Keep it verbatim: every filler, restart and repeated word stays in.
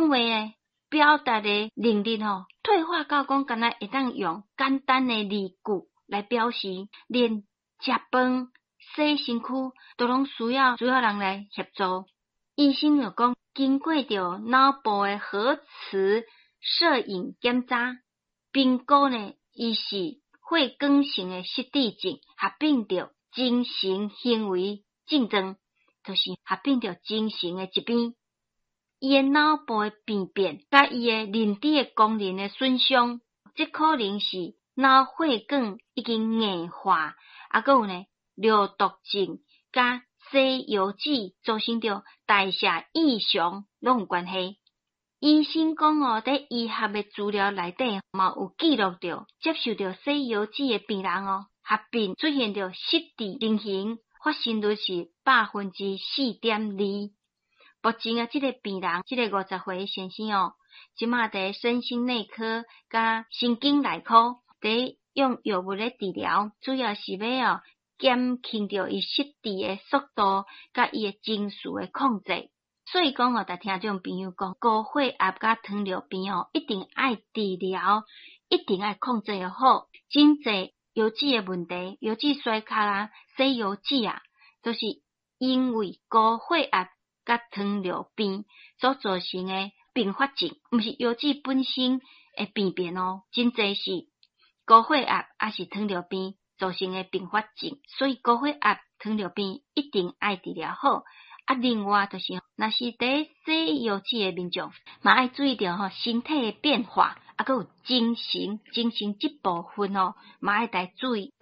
講話的表達的能力吼，退化到講敢若會當用簡單的字句來表示，連食飯、洗身軀都攏需要需要人來協助。醫生又講，經過著腦部的核磁攝影檢查，評估呢，伊是血管性的失智症，合併著精神行為症狀，就是合併著精神的疾病。伊的腦部的病變，佮伊的認知的功能的損傷，這可能是腦血管已經硬化，啊，閣有呢，尿毒症佮西藥劑造成著代謝異常，攏有關係。醫生講哦，佇醫學的資料內底嘛有記錄著，接受著西藥劑的病人哦，合併出現著失智情形，發生率是百分之四點二。目前啊，這个病人，這个五十歲先生哦，這馬佇身心內科佮神經內科佇用藥物咧治療，主要是欲哦減輕著伊失智的速度，佮伊的情緒的控制。所以講哦，共聽眾朋友講，高血壓佮糖尿病哦，一定愛治療，一定愛控制好。真濟腰子的問題，腰子衰竭啊，洗腰子啊，都是因為高血壓佮糖尿病所造成的併發症，毋是腰子本身的病變哦，真濟是高血壓抑是糖尿病造成的併發症，所以高血壓、糖尿病一定愛治療好。啊，另外就是，若是佇洗腰子的民眾，嘛愛注意著吼身體的變化，啊，閣有精神，精神這部分哦，嘛愛來注意。